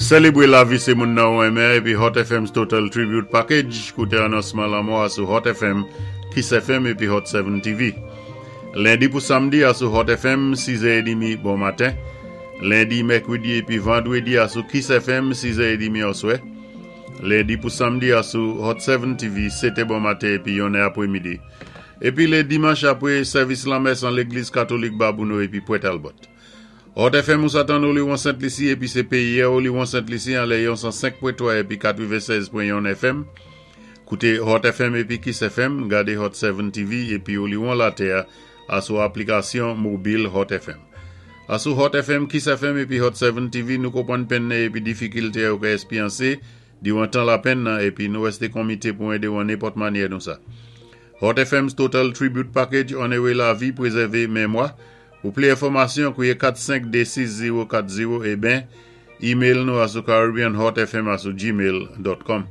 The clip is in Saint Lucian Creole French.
Sélébwé lavi sé moun nan ou renmen épi Hot FM's Total Tribute Package. Kouté anonsman lanmò a sou Hot FM, Kiss FM épi Hot 7 TV. Lendi pou samdi a sou Hot FM, 6 è édmi bon maten. Lendi, mèkwédi épi vandwédi a sou Kiss FM, 6 è édmi oswè. Lendi pou samdi a sou Hot 7 TV, 7 è bon maten épi 1 è apwémidi. Épi lé dimanch apwé sèvis lanmès an légliz katolik Babouno épi Pwent Talbot. Hot FM ou sa tann Oliwon Sent Lisi épi sé péyi a Oliwon Sent Lisi anlè yon 105.3 épi 96.1 FM. Kouté Hot FM épi Kiss FM, gadé Hot 7 TV épi Oliwon Latè a sou aplikasyon mobil Hot FM. A sou Hot FM, Kiss FM épi Hot 7 TV nou konpwann penn nan épi difikilté ou ka èspyansé diwan tan lapenn nan épi nou wèsté konmité pou édé ou an nenpòt manyè nou sa. Hot FM's Total Tribute Package Onoré lavi, pwézèvé mémwa. Pou pli enfòmasyon, kwié 4 5 2 6 0 4 0 é ben, email nou a sou caribbeanhotfm a sou gmail.com.